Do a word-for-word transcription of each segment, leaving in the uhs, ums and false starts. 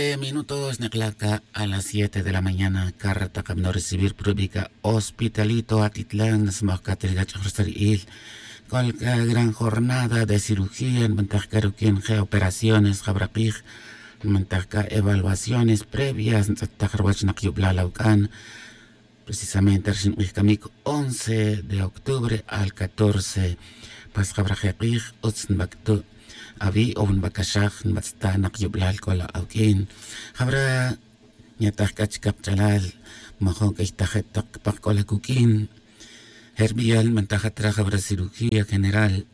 Minutos nikla' ca a las siete de la mañana. Carta kamno recibir prubica hospitalito atitlan smoj catri gach'oj rsari'il. Col ca gran jornada de cirugía nbantaj ca ruquin je operaciones jabrakij, nbantaj ca evaluaciones previas ntz'ettaj rwach nak yublal awc'an. Precisamente rxin k'ij camic once de octubre al catorce. Pas jabra je k'ij utz nbac'tu' awi' o nbacaxaj nbatz'ta' nak yublal c'o la awq'uin. Jabra nyataj c'a chica kach'alal majun c'ay tajet tak cpaj c'o la cuq'uin. Jerbiyal nbantajat ra jabra cirugía general,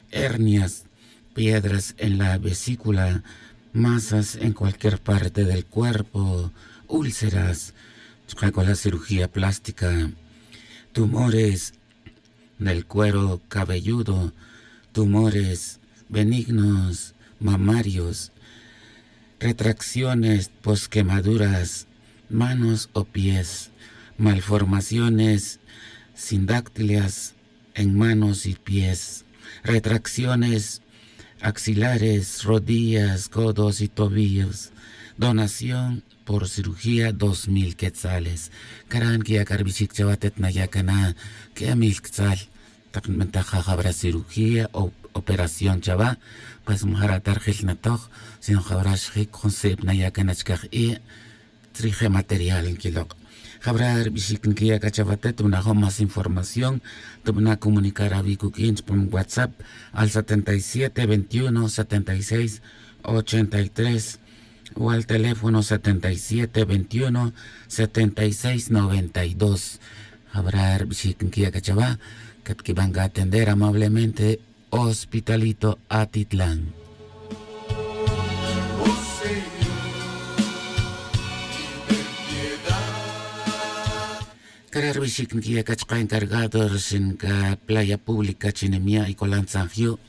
hernias, piedras en la vesícula, masas en cualquier parte del cuerpo, úlceras, chuka' c'o la cirugía plástica, tumores del cuero cabelludo, tumores benignos, mamarios, retracciones, posquemaduras, manos o pies, malformaciones, sindáctilas en manos y pies, retracciones axilares, rodillas, codos y tobillos. Donación por cirugía, dos mil quetzales. Caran que ya carbichic chawa tet na ya cana que mil quetzal. Tak nbentaja jabra cirugía o operación chawa, pues majara tarjil natoj, sino jabra xjic jun sib na ya cana chcaj i'. Trije material nquilok'. Jabra rbixic nquiya' c'a chawa tet tubana' jun más información, tubana' comunicar awi' cuq'uin chupam whatsapp al setenta y siete veintiuno setenta y seis ochenta y tres, o al teléfono setenta y siete veintiuno setenta y seis noventa y dos. Jabra rbixic nquiya' c'a chawa, catquiban c'a atender amablemente. Hospitalito Atitlán. Cara' rbixic nquiya' c'a chka' encargado rxin c'a playa pública chi nimya' y colan tzanjyu'.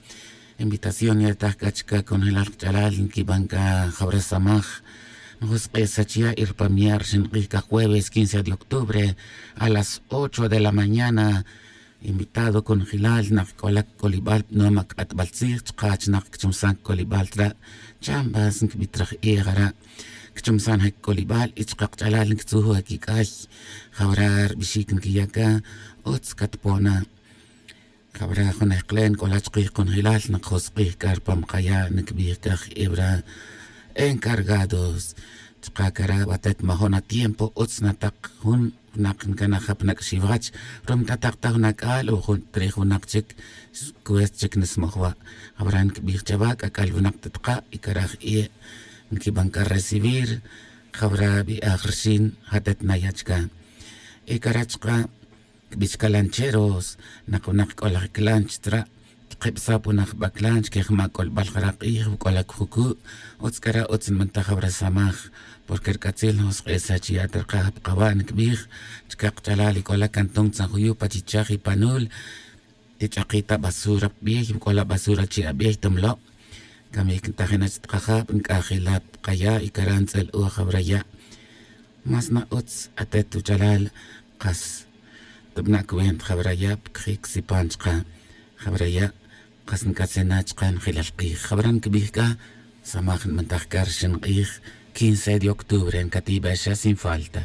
Invitación yataj c'a chka' conjelal kach'alal nquiban c'a jawra samaj. Njusk'e' sach ya' y rpamya' rxin k'ij c'a jueves quince de octubre a las ocho de la mañana. Invitado conjelal nak c'o la c'olibal pnoma c'atbal tzij chka' chi nak cchumsan c'olibal tra'. Chambas ncbit raj ej ara'. Cchumsan je c'olibal y chka' kach'alal nctzuj je quic'ay. Jawra rbixic nquiya' c'a utz catpona. Jawra jun ejk'len c'o la chkij conjelal nak jusk'ij c'a rpam kaya' ncbij c'a je ewra encargados. Chka' cara' batet majun atiempo utz na tak jun. Nak ncanaj jep nak xiwach. Rum tatak ta jun ac'al o jun trij winak chic. Cuest chic nsmoj wa'. Jawra ncbij chawa c'ac'al winak ta taka' y caraj i'. Nquiban c'a recibir. Jawra bi'aj rxin jatet na ya' chca. Y cara' chka' cbix c'a lancheros. Nak winak c'o laj clanch tra'. Kibsab winak jbaclan chque jma' c'olbal jara' k'ij wac'ol acujucu'. Utz c'ara' utz nbantaj awra samaj. Porque rc'atzil njusk'esa' chi ya' ta rkaj pa kawa' ncbij. Chca kach'alal y c'ola cantón tzanjuyu' pa chichaj y panul. Tich'aki ta basura pa biey wac'ol abasura chi' abiey ta mlo'. Camic ntajina' chi ta kajab nc'ajila' pa kaya' y cara' ntz'el-uj awra ya'. Más na utz atet wach'alal. Kas tubana' cuenta jawra ya' pa cajic sipan chka'. Jawra ya' kas nc'atzena' chka' njelal k'ij jawra ncbij c'a. Samaj nbantaj c'a rxin k'ij quince de octubre ncatibe' xa sin falta.